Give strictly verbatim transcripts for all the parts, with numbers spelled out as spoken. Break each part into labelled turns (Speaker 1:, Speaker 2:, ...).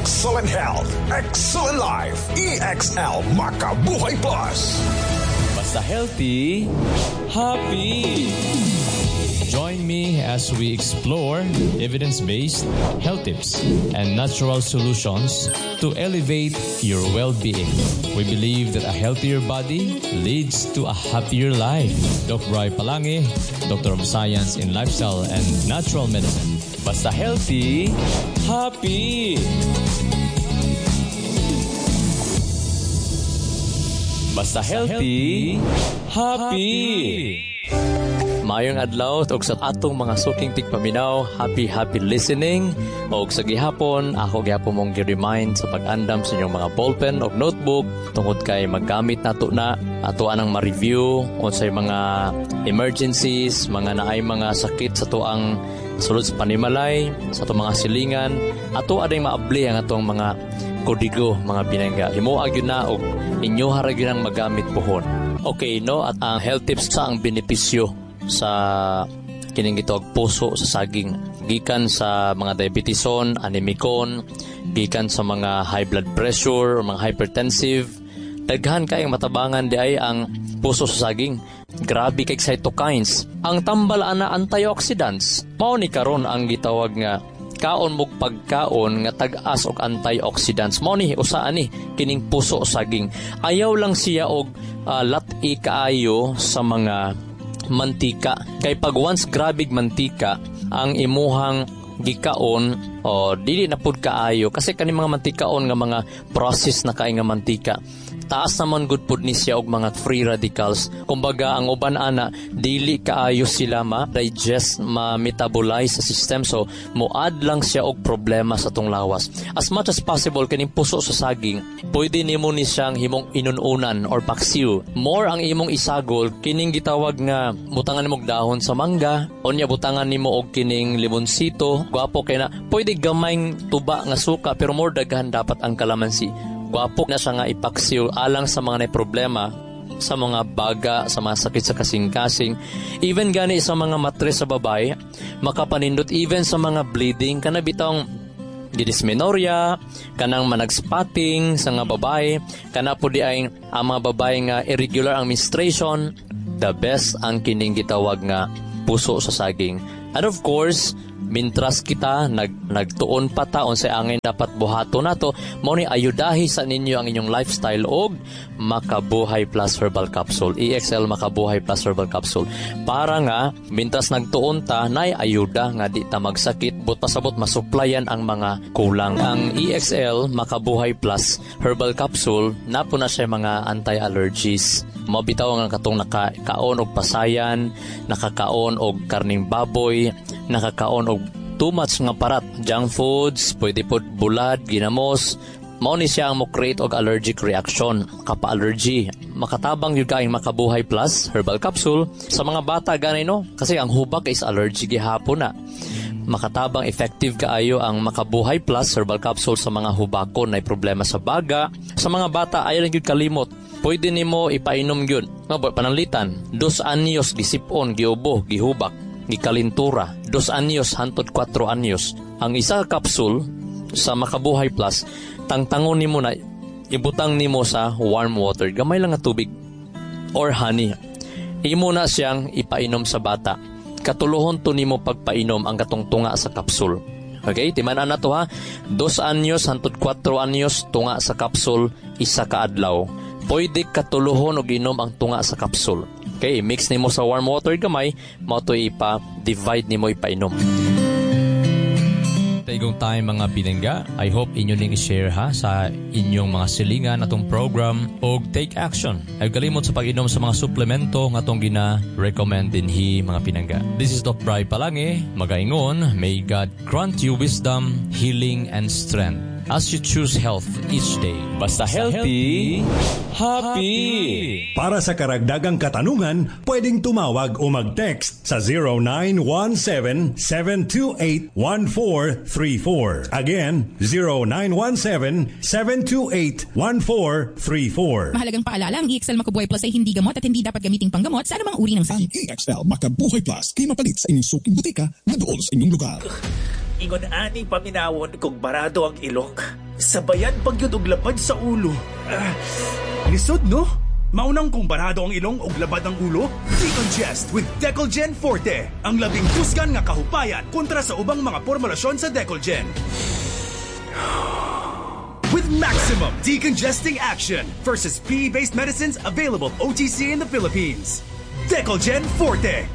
Speaker 1: Excellent health, excellent life. E X L Makabuhay Plus.
Speaker 2: Basta healthy, happy. Join me as we explore evidence-based health tips and natural solutions to elevate your well-being. We believe that a healthier body leads to a happier life. Doc Bry Palangi, Doctor of Science in Lifestyle and Natural Medicine. Basta healthy, happy. Basta healthy, happy. Maayong adlaw ug sa atong mga suking tigpaminaw, happy happy listening. Og sa gihapon, ako gihapon mong gi-remind sa pag-andam sa inyong mga ballpen og notebook tungod kay maggamit nato na ato anang ma-review unsay mga emergencies, mga naay mga sakit sa tuang sulod sa panimalay, sa atong mga silingan, ato aday maabli ang atong mga kodigo, mga binangga. Himoa gyud na og inyo ra gyud ang magamit puhon. Okay, no? At ang health tips sa ang benepisyo sa kining gitawag puso sa saging gikan sa mga diabetison, anemicon, gikan sa mga high blood pressure o mga hypertensive. Daghan kayong matabangan di ay ang puso sa saging. Grabe kay cytokines. Ang tambal ana antioxidants. Mao ni karon ang gitawag nga kaon mog pagkaon nga tag-as og antioxidants. Mao ni usa ani kining puso saging. Ayaw lang siya og uh, lat-i kaayo sa mga mantika. Kay pag once grabig mantika ang imuhang gikaon, o dili na pud kaayo kasi kani mga mantikaon nga mga process na kay nga mantika, taas naman gud pud ni siya og mga free radicals. Kumbaga ang uban ana dili kaayo sila ma-digest, ma-metabolize sa system, so moad lang siya og problema sa tong lawas. As much as possible, kining puso sa saging pwede nimo ni siyang himong inununan or paksiw. More ang imong isagol kining gitawag nga butangan nimo og dahon sa mangga, unya butangan nimo og kining limonsito, gwapo kay na. Pwede gamayng tuba nga suka pero more daghan dapat ang kalamansi. Gwapo na siya nga ipaksiw alang sa mga nay problema sa mga baga, sa mga sakit sa kasing-kasing, even gani sa mga matres sa babae, makapanindot even sa mga bleeding, kana bitong dysmenorrhea, kanang managspotting sa nga babae, kana po di ay ang mga babae nga irregular ang menstruation, the best ang kining gitawag nga puso sa saging. And of course, mintras kita nag nagtuon pa ta unsay angay dapat buhaton nato, mao ni ayudahi sa ninyo ang inyong lifestyle og Makabuhay Plus Herbal Capsule, E X L Makabuhay Plus Herbal Capsule, para nga mintras nagtuon ta nay ayuda nga di ta magsakit, but pasabot masuplayan ang mga kulang. Ang E X L Makabuhay Plus Herbal Capsule napo na siya mga anti-allergies. Mao bitaw nga katong nakakaon og pasayan, nakakaon og karning baboy, nakakaon og too much nga parat, junk foods, pwede pod bulad, ginamos, mao ni siya ang mo create og allergic reaction, kapa-allergy. Makatabang gyud kaayong Makabuhay Plus Herbal Capsule sa mga bata gani, no, kasi ang hubak is allergy gihapon na. Makatabang, effective kaayo ang Makabuhay Plus Herbal Capsule sa mga hubakon na problema sa baga. Sa mga bata, ayaw lang gyud kalimot. Pwede nimo ipainom gyud. Nga pananglitan, dos anyos gisipon, giubo, gihubak, gikalintura, dos anyos hantod kwatro anyos. Ang isa ka capsule sa Makabuhay Plus, tangtangon nimo na ibutang nimo sa warm water, gamay lang nga tubig or honey. Imo na siyang ipainom sa bata. Katuluhon to nimo pagpainom ang katong tunga sa capsule. Okay, timan-an na to ha. Dos anyos hantod kwatro anyos, tunga sa capsule isa ka adlaw. Pwede katuluhon og inom ang tunga sa capsule. Okay, mix nimo sa warm water gamay, mao to ipa-divide nimo ipainom. Taigong tayo, mga pinangga. I hope inyo ning i-share ha sa inyong mga silingan atong program og take action. Ay kalimot sa pag-inom sa mga suplemento nga atong gina-recommend dinhi, mga pinangga. This is Doc Bry Palangi, magaingon, may God grant you wisdom, healing, and strength as you choose health each day. Basta healthy, happy!
Speaker 1: Para sa karagdagang katanungan, pwedeng tumawag o mag-text sa zero nine one seven, seven two eight, one four three four. Again, zero nine one seven, seven two eight, one four three four.
Speaker 3: Mahalagang paalala, ang E X L Makabuhay Plus ay hindi gamot at hindi dapat gamiting panggamot sa anumang uri ng
Speaker 4: Ang
Speaker 3: sakit.
Speaker 4: E X L Makabuhay Plus kay mapalit sa inyong suking butika na dool sa inyong lugar.
Speaker 5: Ingon ani paminawon kung barado ang ilong. Sabayan pa gyud og labad sa ulo. Ah, lisod, no? Mao nang kung barado ang ilong og labad ang ulo, Decongest with Decolgen Forte. Ang labing kusgan nga kahupayan kontra sa ubang mga formulasyon sa Decolgen. With maximum decongesting action versus P E-based medicines available O T C in the Philippines. Decolgen Forte.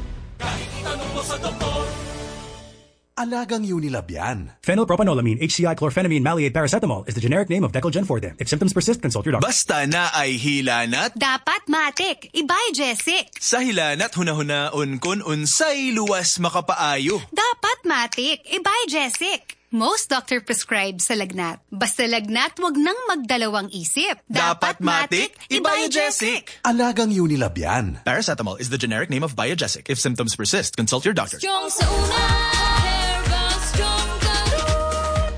Speaker 1: Alagang Unilab yan.
Speaker 5: Phenylpropanolamine H C I chlorphenamine maleate paracetamol is the generic name of Decolgen Forte. If symptoms persist, consult your doctor.
Speaker 6: Basta naay hilanat,
Speaker 7: Dapat matik, Ibugesic.
Speaker 6: Sa hilanat hunahunaon kon unsay luwas makapaayo.
Speaker 7: Dapat matik, Ibugesic. Most doctor prescribe sa lagnat. Basta lagnat, wag nang magdalawang isip.
Speaker 6: Dapat matik, Ibugesic.
Speaker 1: Alagang Unilab yan.
Speaker 6: Paracetamol is the generic name of Biogesic. If symptoms persist, consult your doctor.
Speaker 8: Strong sa una, Herbal Strong karon.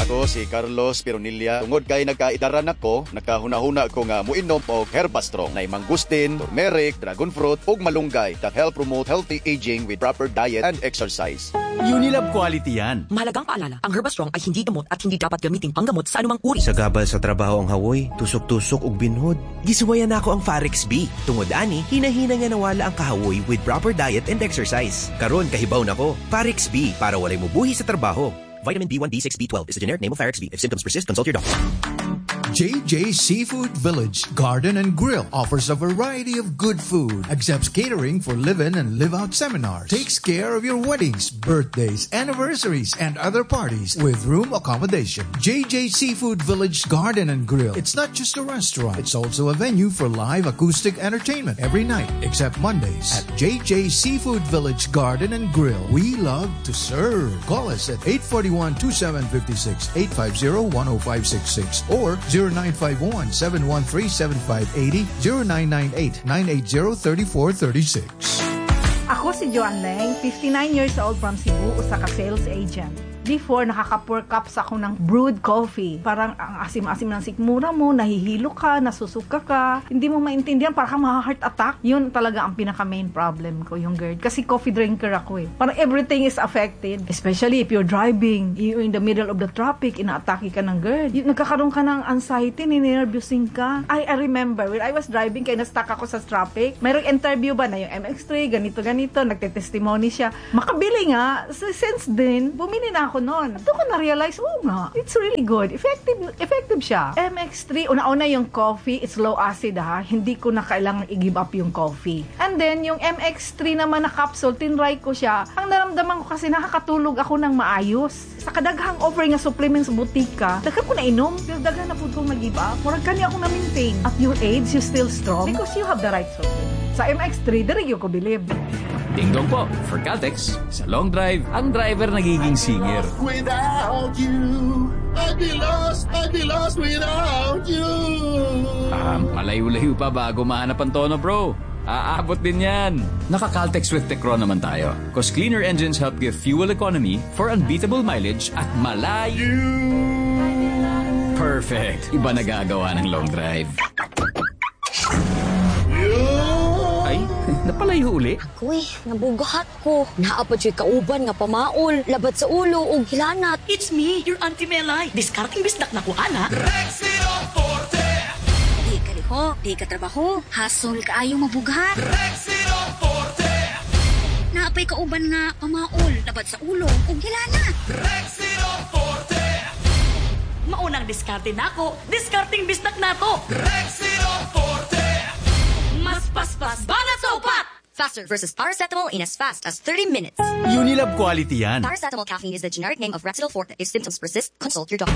Speaker 9: Ako si Carlos Pironilla. Tungod kay nagkaidaran ako, nakahuna-huna ko nga muinom og Herbastrong. Nay mangustin, turmeric, dragon fruit ug malunggay that help promote healthy aging with proper diet and exercise.
Speaker 10: Unilab quality yan.
Speaker 11: Mahalagang paalala, ang Herbastrong ay hindi gamot at hindi dapat gamitin panggamot sa anumang uri.
Speaker 12: Sagabal sa trabaho ang hawoy, tusok-tusok ug binhod. Gisuwayan nako ang Farex B. Tungod ani, hinahina nga nawala ang kahawoy with proper diet and exercise. Karon kahibaw nako, Farex B para walay mubuhi sa trabaho. Vitamin B one, B six, B twelve is the generic name of Farex B. If symptoms persist, consult your doctor.
Speaker 13: J J Seafood Village Garden and Grill offers a variety of good food, accepts catering for live-in and live-out seminars, takes care of your weddings, birthdays, anniversaries, and other parties with room accommodation. J J Seafood Village Garden and Grill. It's not just a restaurant, it's also a venue for live acoustic entertainment every night except Mondays at J J Seafood Village Garden and Grill. We love to serve. Call us at eight four one, two seven five six, eight five zero, one zero five six six or zero nine five one, seven one three, seven five eight zero, zero nine nine eight, nine eight zero, three four three six.
Speaker 14: Ako si Joanne Leng, fifty-nine years old from Cebu, usa ka sales agent. Before, nakaka four cups ako ng brewed coffee. Parang ang asim-asim ng sikmura mo, nahihilo ka, nasusuka ka, hindi mo maintindihan, parang kang heart attack. Yun talaga ang pinaka-main problem ko, yung GERD. Kasi coffee drinker ako eh. Parang everything is affected. Especially if you're driving, you're in the middle of the traffic, inaatake ka ng GERD. Yung, nagkakaroon ka ng anxiety, ninervyosing ka. I, I remember, when I was driving, kaya na-stuck ako sa traffic, mayroong interview ba na yung M X three, ganito, ganito, nagte-testimony siya. Makabili nga. So, since then, bumili na ako noon. Doon ko na-realize, oh nga, it's really good. Effective, effective siya. M X three, una-una yung coffee, it's low acid ha. Hindi ko na kailangan i-give up yung coffee. And then, yung M X three naman na capsule, tinry ko siya. Ang naramdaman ko kasi nakakatulog ako ng maayos. Sa kadaghang offering nga supplements sa butika, daghan ko na inom, pero daghan na pud kong nag-give up. Murag kani akong na-maintain. At your age, you still strong because you have the right supplement. Sa M X three, diri ko believe.
Speaker 15: Ding dong po, for Caltex, sa long drive, ang driver nagiging singer.
Speaker 16: Without you, I'd be lost, I'd be lost without you.
Speaker 15: Ah, malayo-layo pa bago mahanap ang tono, bro. Aabot din yan. Naka-Caltex with Techron naman tayo. 'Cause cleaner engines help give fuel economy for unbeatable mileage at malayo. Perfect. Iba nagagawa ng long drive. Ay, napalayo uli.
Speaker 17: Kuy, nabugahat ko. Naa pa juy kauban nga pamaol, labad sa ulo ug hilanat.
Speaker 11: It's me, your Auntie Melay. Diskarteng bisdak na ko, ana.
Speaker 6: Rexidol Forte!
Speaker 17: Di ka liho, di ka trabaho, hasol kaayo mabughat.
Speaker 6: Rexidol Forte!
Speaker 17: Naa pay kauban nga pamaol, labad sa ulo ug hilanat.
Speaker 6: Rexidol Forte!
Speaker 11: Mao nang diskarte nako, diskarteng bisdak nato.
Speaker 6: Rexidol Forte!
Speaker 11: Mas paspas banat sa upat.
Speaker 17: Faster versus paracetamol in as fast as thirty minutes.
Speaker 10: Unilab quality yan.
Speaker 17: Paracetamol caffeine is the generic name of Rexidol Forte. If symptoms persist, consult your doctor.